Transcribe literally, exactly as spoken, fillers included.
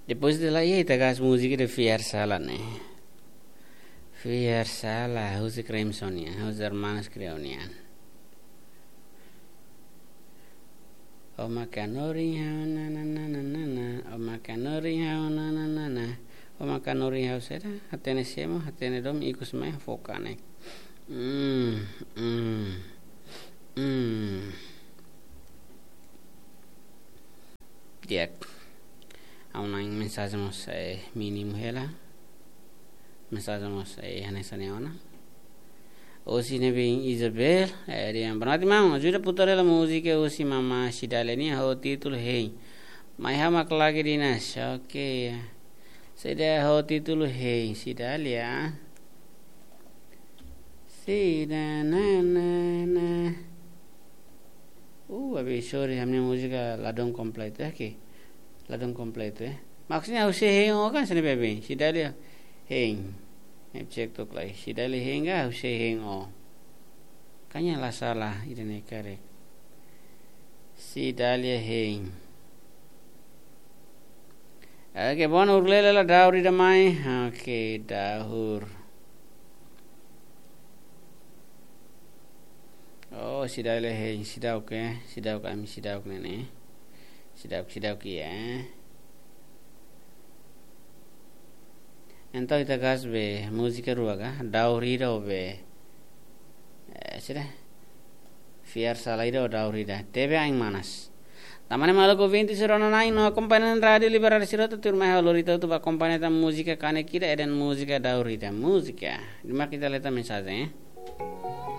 Depois de la, e aí, ita hakat múzika de Fiar Sala, ne'e? Fiar Sala, husi Crimson nian, husi Hermanos Creo nian. O mak hanorin ha'u, na, na, na, na, na, na. O mak hanorin ha'u, na, na, na, na. O mak hanorin ha'u, saida? Hatene semo, hatene domin, ikus mai fó kanek. Hmm, hmm, hmm. Di'ak. Ha'u-nia mensajen mós, eh, mínimu hela. Mensajen mós, eh, hanesan ne'e ona. Husi ne'ebé Isabel, eh, dehan: "Boa noite, maun. Ajuda putar hela múzika husi Mama Cidália nian ho títulu Hein." Mai ha'u mak lagi dinas. Oke, ya. Saida ho títulu Hein, Cidália? Saida, na, na, na. Uh, abi, sorry, ha'u-nia múzika ladún kompletu, eh, ke? Ladún kompletu, eh. Maksudnya, husi Hein ó kan sini, bebe? Cidália Hein. Ne'e cek tok lai. Cidália Hein ka husi Hein ó? Kayaknya la sala, ida-ne'e karik. Cidália Hein. Oke, bon, urlele la daur ida mai. Oke, daur. Oh, Cidália Hein, seidauk, eh. Seidauk, ami seidauk ne'e ne'e. Seidauk, seidauk, ya. Entaun ita hakat be múzika rua ka, daur ida ho be, eh, saida? Fiar Sala ida ho daur ida. Tebe ain manas. Tan ne'e, maluk ouvinte sira-nia na'in no akompañante Rádiu Liberdade sira hotu, tuirmai ha'u lori ita hotu ba akompaña tan múzika kanek ida, ida-ne'e múzika daur ida. Múzika. Di'ak, ita lee tan mensajen, eh.